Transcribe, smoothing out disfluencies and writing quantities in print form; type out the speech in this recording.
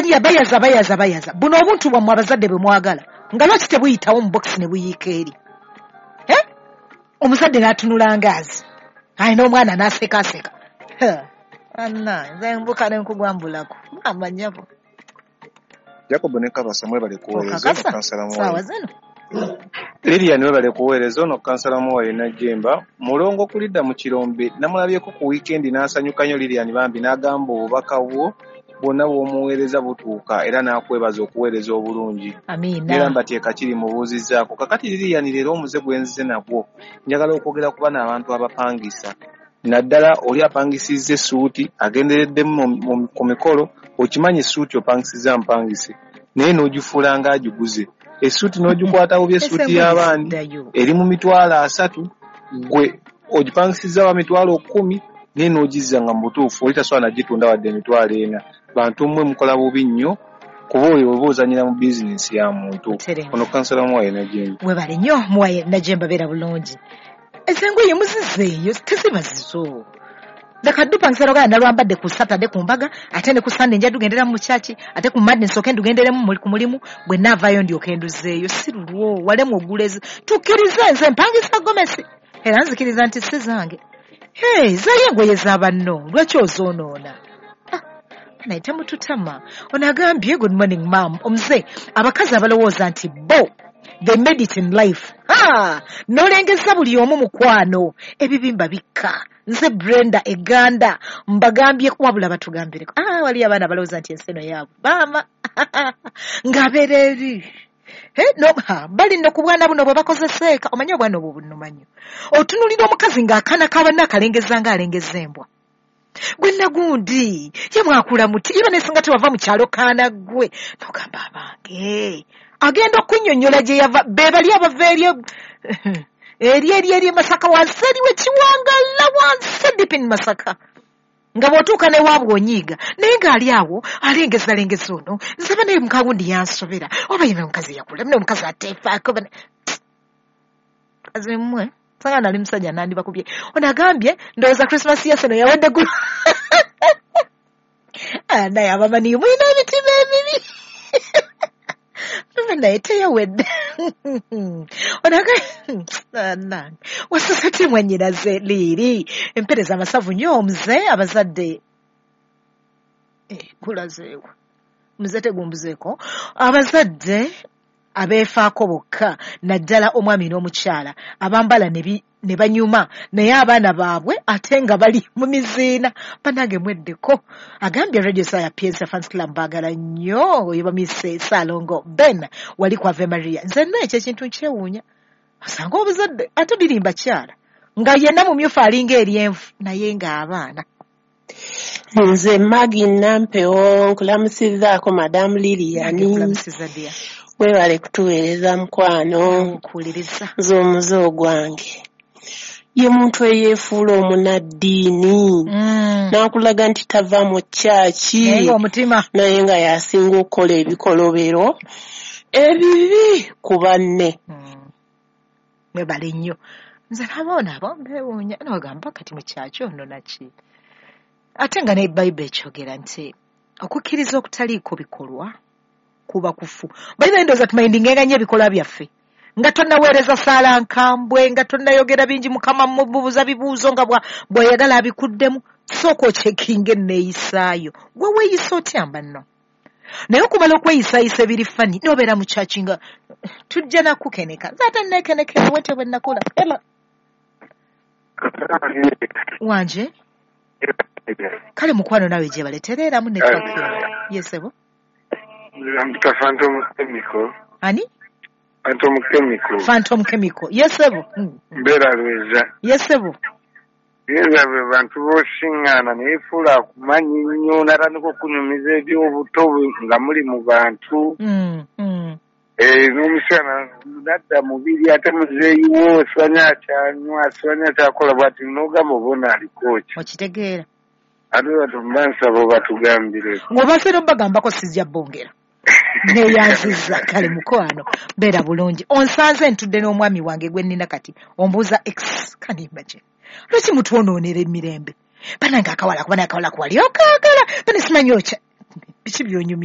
Balya bayaza bayaza bayaza. Buno obuntu bwammwe abazadde bwe mwagala nga lwaki tebuyitawo mu bokisi ne buyiika eri? Omuzadde n'atunula ngaazi alina omwana n'asekaaseka. Anna nze mbuka ne nkugwambulako amanyabo. Jacob ne Kabasa mwebale kuweereza ono kansala Muwayi. Zino. Lilian webale kuweereza ono kansala Muwayi Najjemba. Mulongo kulidda mu kirombe namulabyeko ku weekend n'asanyuka nnyo Lilian bambi n'agamba obubaka bwo bwonna bw'omuweereza butuuka era n'akwebaza okuweereza obulungi. Amiina. Era mbateeka kiri mubuuzizzaako. Kakati Lilian leero omuze gwe nzize nagwo njagala okwogera ku bano abantu abapangisa. Naddala oli apangisizza essuuti agendereddemu ku mikolo, okimanyi essuuti opangisizza mpangise naye n'ogifuula ng'agiguze. Essuuti n'ogikwata bubi, essuuti y'abandi eri mu 300,000 gwe ogipangisizza wa 10,000 naye n'ogizza nga mu butuufu oli tasobola nagitunda wadde 400,000. Bantu mmwe mukola bubi nnyo kuba oyo oba ozannyira mu bizinensi ya muntu. Ono kansala Muwayi Najjemba. Webale nnyo Muwayi Najjemba, beera bulungi. Ezengoye muzizeeyo teziba zizo. Leka dupangisa logala nalwambadde ku Saturday ku mbaga, ate ne ku Sunday nja dugendera mu church, ate ku Monday nsooke ndugenderemu ku mulimu, bwe naavaayo ndyoke nduzeeyo. Si lulwo, walemu ogulezi. Tukkirize nze mpangisa gomesi. Era nzikiriza nti si zange. Hey, zaayo engoye za banno, lwaki ozoonoona? Naye temututama. Ono agambye good morning ma'am. Omuze, abakazi abalowooza nti bo they made it in life. Nolengeza buli omu mukwano. Ebibimba bikka. Nze Brenda Eganda mbagambye wabula batugambireko. Wali abaana balowooza nti ensi eno yaabwe. Maama ng'abeera eri. No, bali nno ku bwana buno bwe bakozeseeka. Omanyi obwana obwo bunnumanyo. Otunuulira omukazi ng'akaana k'abanne akalengeza ng'alengeza embwa. Gwe nagundi ye mwakula muti iba nesinga tewava mu kyalo kaana ggwe. Nogamba abange agenda okunnyonnyola gye yava be bali abava eri eri eri eri Masaka wansi eriwe Kiwangala wansi deep in Masaka. Nga bw'otuuka ne waabwe onyiiga naye ng'ali awo alengezalengeza ono nze banaye mukagundi yansobera oba ye omukazi yakula mune omukazi ateefaako kazi mmwe sanga nali musajja nandibakubye. Ono agambye ndowooza Christmas yaffe eno yawadde gulu. Naye abamanyi mulina emitima emibi. Naye teyawedde. Ono agambye wasosoti mwannyinaze liiri empeereza amasavu nnyo omuze abazadde kulazeewo muze tegumbuzeeko abazadde abeefaako bokka naddala omwami n'omukyala abambala ne banyuma naye abaana baabwe ate nga bali mu miziina. Bannange mweddeko. Agambye Radio Star ya PNC Fans Club baagala nnyo oyo bamise Ssalongo Ben wali ku Ave Maria. Nze nno ekyo ekintu nkyewuunya. Osanga obuzadde ate biri mbakyala nga yenna mumyufu alinga eryenvu naye ng'abaana. Nze Maggie Nampewo nkulamusizzaako Madam Lilian. Nkulamusizza dear. Webale kutuweereza mukwano. Nkuwuliriza. Nze omuze ogwange. Ye muntu eyeefuula omunaddiini. N'akulaga nti tava mu kyaki. Naye ng'omutima. Naye nga y'asinga okukola ebikolobero ebibi ku banne. Webale nnyo. Nze naboona abo mbeewuunya n'ogamba kati mu kyaki ono naki. Ate nga ne Bayibuli ekyogera nti okukkiriza okutaliiko bikolwa kuba kufu. Bayibuli ndowooza tumayindingenga nnyo ebikolwa byaffe. Nga tonnaweereza ssaala nkambwe, nga tonnayogera bingi Mukama mubuuza bibuuzo nga bw'ayagala abikuddemu. Sooka okyekinga enneeyisaayo. Gwe weeyisa otya mbanno? Naye okumala okweyisaayisa ebiri fani n'obeera mu kyaki nga tujja nakukeneka. Nze ate nneekenekera wete bwe nakula. Ema. Wanje? Kale mukwano naawe gye baleetereeramu network yo. Yesebo. Mpita Phantom Chemical. Ani? Phantom Chemical. Phantom Chemical. Yesebo. Mbeera Lweza. Yesebo. Lweza bwe bantu b'osiŋŋaana neyefuula akumanyi nnyo n'atandika okunyumiza eby'obuto nga muli mu bantu. N'omusana nadda mubiri ate muzeeyiwo simanyi akyanywa simanyi akyakola bw'ati n'ogamba oba aliko ki. Okitegeera. Ate batubansaba obatugambire. Ng'obaseera obagambako sijja bongera. Neeyanzizza kale mukwano beera bulungi. Onsanze ntudde n'omwami wange gwe nnina kati ombuuza ex can you imagine? Lwaki mutwonoonera emirembe? Bannange akawala kuba naye akawala kuwali okaagala bane simanyi okya biki by'onyumya.